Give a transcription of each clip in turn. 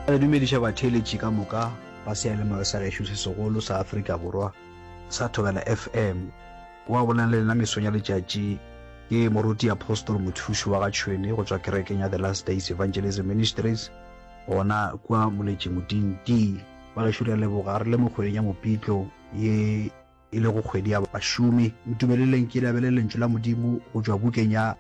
Re dumediša batheeletši ka moka ba seyalemoya sa gešo se segolo sa Afrika Borwa sa Thobela FM. Wa bolela le lena mesong ya letšatši ke Moruti Apostle Mothuši wa ga Tšhwene go tšwa kerekeng ya The Last Days Evangelism Ministries gona kua Moletši Moding D. Ba gešo re a leboga re le mo kgweding ya Mopitlo ye e lego kgwedi ya bašomi. Ntumeleleng ke le abele lentšu la Modimo go tšwa bukeng ya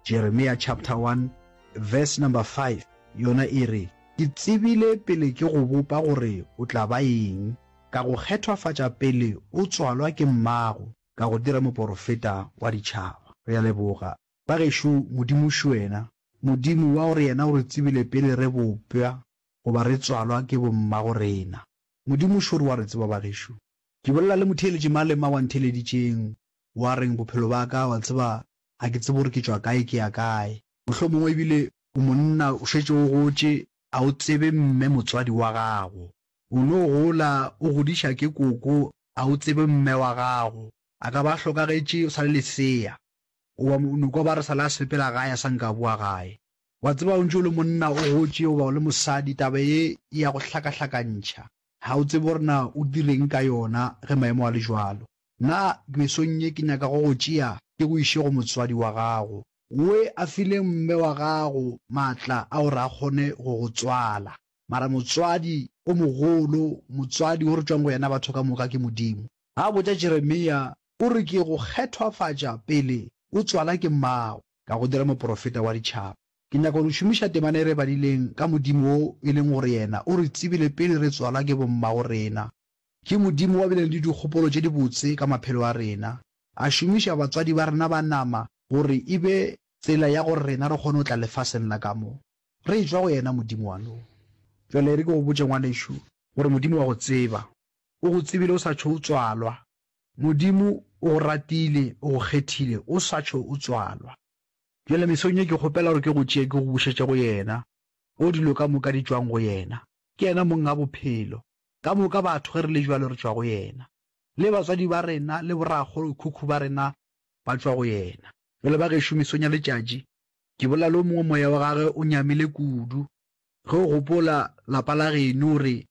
Jeremia chapter 1 verse number 5 yona e re, Ke tsebile pele ke go bopa gore o tla ba eng, ka go kgethwafatša pele o tswalwa ke mmago, ka go dira moporofeta wa ditšhaba. Re a leboga. Ba gešo, Modimo šo wena, Modimo wa gore yena o re tsebile pele re bopša goba re tswalwa ke bommago rena. Modimo šo re wa re tseba ba gešo. Ke bolela le motheeletši mang le mang wa ntheeleditšeng, wa reng bophelo ba ka, wa tseba, ga ke tsebe gore ke tšwa kae ke ya kae. Mohlomongwe ebile o monna o šetše o gotše, a o tsebe mme motswadi wa gago. O no gola o godiša ke koko, a o tsebe mme wa gago. A ka ba a hlokagetše o sa le lesea. Goba o no kwa ba re sale a sepela gae a sa nka a boa gae. Wa tseba o ntše o le monna o gotše goba o le mosadi taba ye e ya go hlakahlakantšha. Ga o tsebe gore na o direng ka yona ge maemo a le jwalo. Na mesong ye ke nyaka go go tšea ke go iše go motswadi wa gago. We a file mme wa gago maatla a gore a kgone go go tswala. Mara motswadi o mogolo, motswadi wo re tšwang go yena batho ka moka ke Modimo. A botša Jeremia, o re ke go kgethwafatša pele o tswala ke mmago, ka go dira moporofeta wa ditšhaba. Ke nyaka go šomiša temana e re badileng ka Modimo wo e leng gore yena o re tsebile pele re tswalwa ke bommago rena. Ke Modimo wa bileng le dikgopolo tše dibotse ka maphelo a rena. A šomiša batswadi ba rena ba nama gore e be tsela ya gore rena re kgone go tla lefaseng la ka mo. Re etšwa go yena Modimo wa no. Bjale e re ke go botše ngwanešu gore Modimo wa go tseba. O go tsebile o sa tšho o tswalwa. Modimo o go ratile, o go kgethile o sa tšho o tswalwa. Bjale mesong ye ke kgopela gore ke go tšee ke go bušetše go yena, o dilo ka moka di tšwang go yena. Ke yena mong a bophelo. Ka moka batho ge re le bjalo re tšwa go yena. Le batswadi ba rena le borakgolokhukhu ba rena ba tšwa go yena. Bjale ba gešo mesong ya letšatši, ke bolela le o mongwe moya wa gagwe o nyamile kudu. Ge o gopola lapa la geno o re,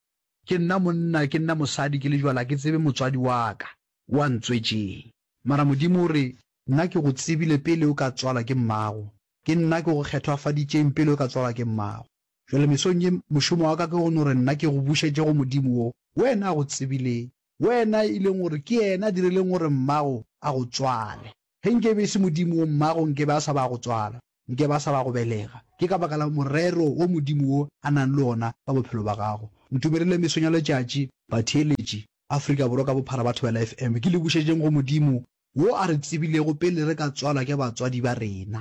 Ke nna monna, ke nna mosadi, ke le jwale ga ke tsebe motswadi wa ka o a ntswetšeng. Mara Modimo o re, Nna ke go tsebile pele o ka tswalwa ke mmago, ke nna ke go kgethwafaditšeng pele o ka tswalwa ke mmago. Bjale mesong ye, mošomo wa ka ke go no re nna ke go bušetše go Modimo wo wena a go tsebileng. Wena e leng gore ke yena a dirileng gore mmago a go tswale. Ge nke e be e se Modimo wo, mmago nke be a sa ba a go tswala, nke be a sa ba a go belega. Ke ka baka la morero wo Modimo wo a nang le wona ka bophelo ba gago. Ntumelele mesong ya letšatši, batheeletši, Afrika Borwa ka bophara ba Thobela FM, ke le bušetšeng go Modimo wo a re tsebilego pele re ka tswalwa ke batswadi ba rena.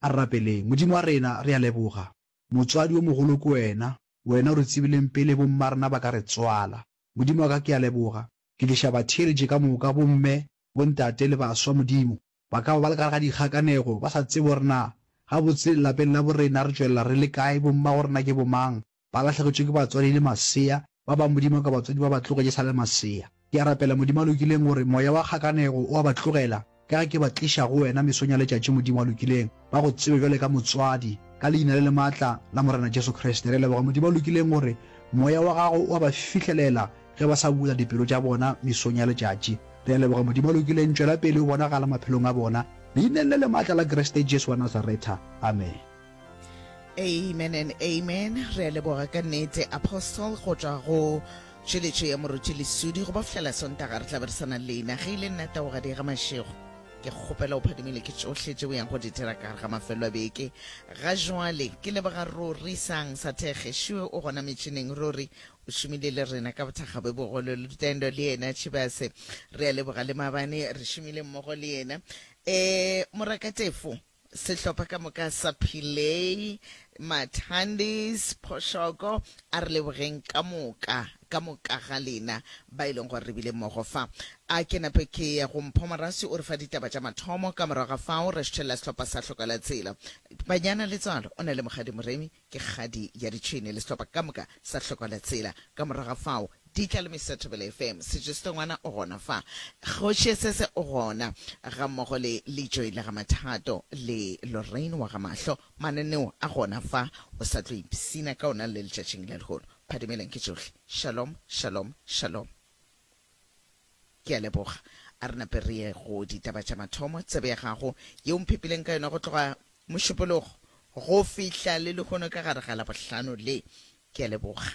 A re rapeleng. Modimo wa rena, re a leboga. Motswadi yo mogolo ke wena, wena o re tsebileng pele bommarena ba ka re tswala. Modimo wa ka, ke a leboga. Ke tliša batheeletši ka moka, bomme, bontate le baswa, Modimo. Ba ka ba ba le ka gare ga dikgakanego, ba sa tsebe gore na gabotse lapeng la borena re tšwelela re le kae, bommagorena ke bomang. Ba lahlegetšwe ke batswadi le masea, ba bang, Modimo wa ka, batswadi ba ba tlogetše sa le masea. Ke a rapela, Modimo a lokileng, gore moya wa kgakanego o a ba tlogela, ka ge ke ba tliša go Wena mesong ya letšatši, Modimo a lokileng, ba Go tsebe bjale ka Motswadi, ka Leina le le maatla la Morena Jesu Kriste. Re a leboga, Modimo a lokileng, gore Moya wa Gago o a ba fihlelela ge ba sa bula dipelo tša bona mesong ya letšatši. Re a leboga, Modimo a lokileng, tšwela pele o bonagala maphelong a bona, Leineng le le maatla la Kriste Jesu wa Nazaretha. Amene. Amen and amen. Re a leboga ka nnete Apostle go tšwa go tšweletšo ya Moruti Lesudi go ba fihlela Sontaga re tla be re sa na le lena. Ge e le nna Taugadi ga Mašego ke kgopela o phadimile ke tšohle tše o yang go di dira ka gare ga mafelo a beke. Ga jwale ke leboga Ruri Sang sa Thekge Šue o gona metšhineng. Ruri o šomile le rena ka bothakga bo bogolo. Lutendo le yena Tšhibase re a leboga le maabane re šomile mmogo le yena. E Morakatefo Sehlopha ka moka sa Pillay, Mathandis, Phoshoko, a re lebogeng ka moka, ka moka ga lena ba e leng gore re bile mmogo fa. A ke nape ke ye go Mpho Moraswi o re fa ditaba tša mathomo, ka morago ga fao re šthelela sehlopha sa Hloka Tsela. Banyana Letswalo o na le Mokgadi Moremi, ke kgadi ya ditšhwene le sehlopha ka moka sa Hloka Tsela. Ka morago ga fao Di tla le Mister Thobela FM. Sejo-setongwana o gona fa. Kgoši Sese o gona, gammogo le Lejoe la ga Mathato le Lorraine wa ga Mahlo. Mananeo a gona fa, o sa tlo ipshina ka ona le letšatšing la lehono. Phadimeleng ke tšohle. Shalom, shalom, shalom. Ke a leboga. A re nape re ye go ditaba tša mathomo, tsebe ya gago yeo mphepileng ka yona go tloga Mošupologo go fihla le lehono ka gare ga Labohlano le. Ke a leboga.